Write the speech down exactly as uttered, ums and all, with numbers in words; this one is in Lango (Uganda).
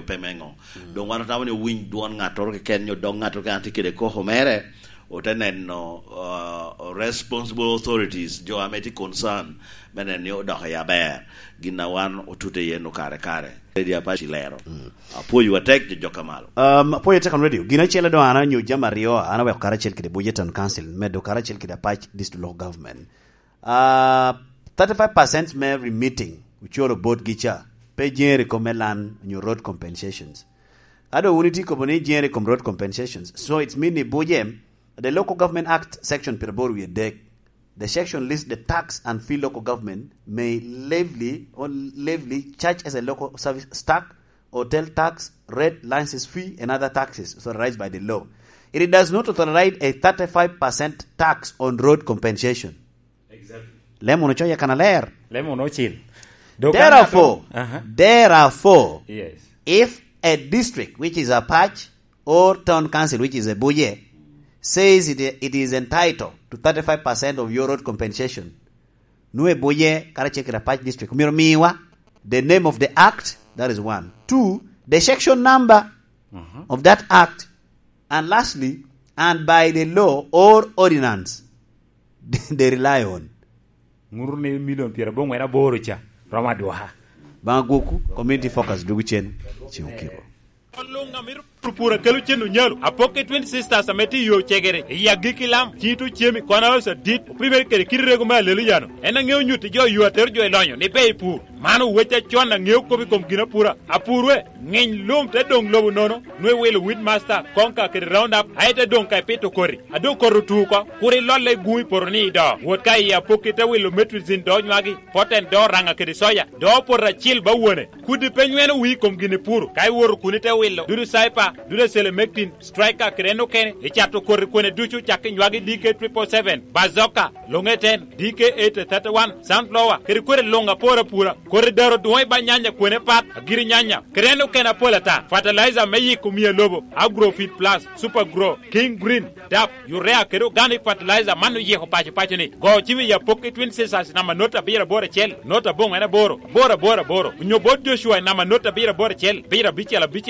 pe me ŋo. Mm. Doŋ wan otamo ni owiny dwon ŋattoro keken, nyo dog ŋattoro keken a tye kede koko mere, ote neno, uh, responsible authorities, jo ame tye concern, me neno ni odoko i aber. Gin a wan otute iye nu kare kare. Lady Apache lero. Mm. Apwoyo atek jo jok a malo. Um, apwoyo atek on radio. Gin acel doŋ an anyo jami aryo, an aweko karacel kede Buja Town Council, medo karacel kede Apac District Local Government. Uh, thirty-five percent me remitting, oculo botgi ca, pe jere kom me lan, nyo road compensations. Ado wun iti kobo ni jere kom road compensations. So it's mean ni Buja, the Local Government Act section pyeraboro wie dek, the section lists the tax and fee local government may levied or levied charge as a local service tax, hotel tax, rate, license fee, and other taxes authorized by the law. It does not authorize a thirty-five percent tax on road compensation. Exactly. Lem wunu coye kan aler. Lem wunu ocil. Dok Therefore, an ato-, aha. Therefore, yes. If a district which is Apac or town council which is Abuja says it, it is entitled to thirty-five percent of your road compensation, nu Abuja karacel kede Apac district, myero miwa the name of the act, that is one. Two, the section number, mhm, of that act, and lastly, and by the law or ordinance they rely on. Ŋuru ni milion pyeraboro ŋwen aboro ca, romo adwoka. Baŋ agwokwu, community focus dwogo cen, cen okiko. Luŋ a mito puro pur a kelo cen onyalo, apok i Twin Sisters ame tye i yo cegere, i agikki lam, cito cemi, kono oso adit, opimere kede kit rego me Aleluya-nu. En aŋeo nyutti jo yo atero jo i lonyo ni ber i pur. Man owec acon aŋeo kop i kom ginapura. Apurwe, ŋiny lum te doŋ lobo nono, nwe wilo Weedmaster, Konka kede Roundup, aye te doŋ ka ipito koti. A doŋ koti otu oko, kur ilolle i guŋ i poto ni ido. Wot ka i apokki te wilo Metrizin do nywagi, Poten do Raŋa kede Soya, do poto acil ba wone. Kudi pe nyweno wii i kom gin ipuro, ka iwoto kun ite wilo, dudu Cyper, dudu Selemectin, Striker kede en okene, icato koti kwene ducu cak i nywagi D K triple seven, Bazooka, Longeten, D K eight thirty-one, Sunflower, kede kwene luŋ apor apura. Koti daro dwoŋ i ba nyanya kwene pat, agiri nyanya, kede en okene apol ata. Fertilizer me yiko mia lobo, Agrofit Plus, Super Grow, King Green, DAP, Urea kede Organic Fertilizer man oyiko paco paco ni. Go cim i apok i Twin Sisters namba not abiro aboro acel, not aboŋo en aboro, aboro aboro aboro. Onyo bot Joshua i namba not abiro aboro acel, abiro abicel abicel.